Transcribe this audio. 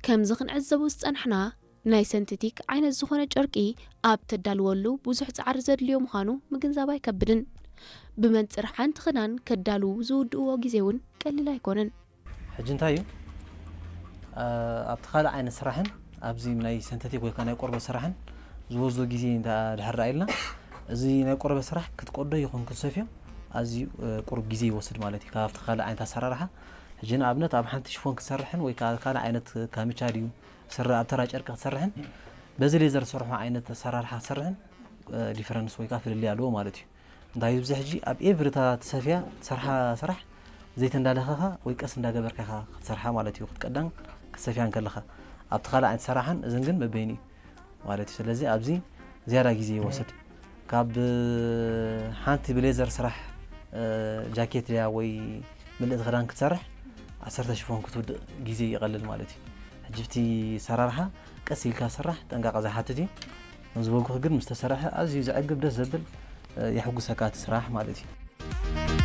ከምዚ ክንዕዘቡ ዝጸናሕና፣ ናይ ሰንተቲክ ዓይነት ዝኾነ ጨርቂ ኣብ ተዳልወሉ ብዙሕ ጻዕሪ ዘድልዮ ምዃኑ ምግንዛብ ኣይከብድን። ብመንጽር ሓንቲ ክዳን ከዳልዉ ዝውድእዎ ግዜ እውን ቀሊል ኣይኮነን። ሕጂ እንታይ እዩ ኣብቲ ካልእ ዓይነት ስራሕን ኣብዚ ናይ ሰንተቲክ ወይ ናይ ቆርበት ስራሕን ዝወስዶ ግዜ ድሕር ኢልና፣ እዚ ናይ ቆርበት ስራሕ ክትቆዶ ይኹን ክትሰፍዮ ኣዝዩ ቁሩብ ግዜ ይወስድ ማለት እዩ። ካብቲ ካልእ ዓይነት ኣሰራርሓ ሕጂ ንኣብነት ኣብ ሓንቲ ሽፎን ክትሰርሕን ወይ ካልእ ዓይነት ካምቻ ድዩ ስረ ኣብ ተራ ጨርቂ ክትሰርሕን በዚ ሌዘር ዝሰርሖ ዓይነት ኣሰራርሓ ክትሰርሕን ዲፈረንስ ወይ ከዓ ፍልልይ ኣለዎ ማለት እዩ። እንታይ እዩ እዚ ሕጂ ኣብ ኤቭሪ እታ ትሰፍያ ትሰርሓ ስራሕ ዘይተንዳለኸኻ ወይ ቀስ እንዳገበርካ ኢኻ ክትሰርሓ ማለት እዩ። ክትቀዳን ክትሰፍያን ከለኻ ኣብቲ ካልእ ዓይነት ሰራሓን እዝን ግን በበይኑ እዩ ማለት እዩ። ስለዚ ኣብዚ ዝያዳ ግዜ ይወስድ። ካብ ሓንቲ ብሌዘር ስራሕ ጃኬት ድያ ወይ ምልእቲ ክዳን ክትሰርሕ ዓሰርተ ሽፎን ክትውድእ ግዜ ይቐልል ማለት እዩ። ሕጂ እቲ ሰራርሓ ቀስ ኢልካ ስራሕ ጥንቃቐ ዝሓትት እዩ። ከም ዝበልኩኺ ግን ምስ ተሰርሐ ኣዝዩ ዘዕግብ ደስ ዘብል የሕጉሰካ እቲ ስራሕ ማለት እዩ።